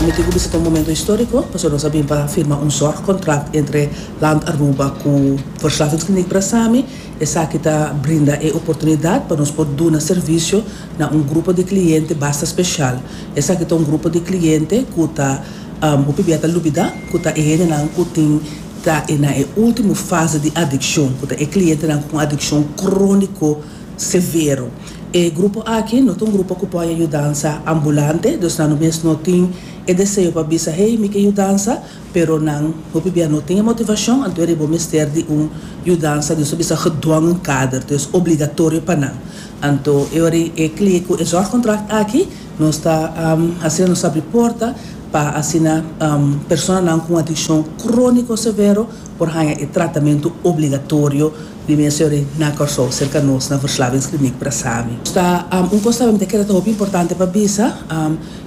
Mi tin ku bisa ta un momento históriko pasobra nos a bin pa firma un zorgcontract entre Land Aruba ku Verslavingskliniek Brasami. Esaki ta brinda e oportunidat pa nos por duna servisio na un grupo di kliente basta speshal. Esaki ta un grupo di kliente ku ta hopi bia ta lubida ku ta e hendenan ku tin ta e na e ultimo fase di adikshon, ku ta e klientenan ku un adikshon króniko severo. E grupo aki no ta un grupo ku por haña yudansa ambulante, dus nan no mes no tin e deseo pa bisa hey mi ke yudansa, pero nan hopi bia no tin e motivashon, anto e bo mester di un yudansa, nos ta bisa gedwongen kader, dus obligatorio pa nan. Anto e ora e kli ku e zorgcontract aki nos ta asina nos abri porta pa asina personanan ku un adikshon króniko severo por haña e tratamentu obligatorio di mes e ora na Kòrsou serka nos na Verslavingskliniek Brasami. Ta un kos tambe mi ta kere ta hopi importante pa bisa,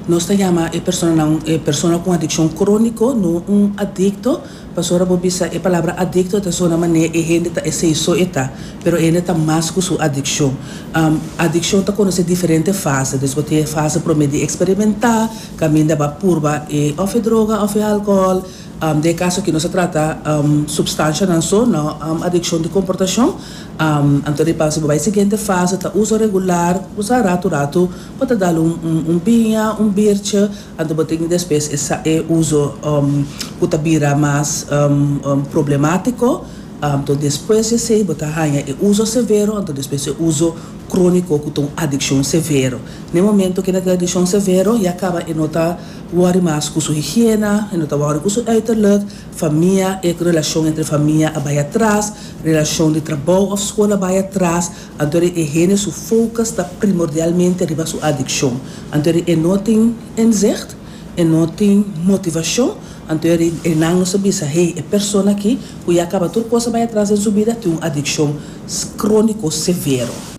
nos ta yama e personanan e persona ku un adikshon króniko no un adikto. Pasobra bo bisa e palabra adikto ta sona manera e hende ta esei so e ta, pero e hende ta mas ku su adikshon. Adikshon ta konosé diferente fase, dus bo tin e fase promé di eksperimentá, kaminda bo a purba e òf e droga òf e alkohòl, den e kaso aki nos a trata supstanshanan so, no adikshon di komportashon. Anto di pasa bo bai e siguiente fase ta uso regular, bo sa ratu ratu bo ta dal un biña, un birtje. Anto bo tin despues e sa e uso ku ta bira mas problemátiko. Anto despues di esei bo ta haña e uso severo, anto despues e uso króniko ku ta un adikshon severo. Na e momento ku e na tin adikshon severo ya kaba e no ta wòri mas ku su higiena, e no ta wòri ku su uiterlijk, famia, e relashon entre famia a bai atras, relashon di trabou òf skol a bai atras. Anto e hende su focus ta primordialmente riba su adiccion. Anto e no tin inzicht, e no tin motivacion, anto e nan nos a bisa, hey, e persona aki cu ya caba tur cos a bay atras den su bida tin un adiccion cronico severo.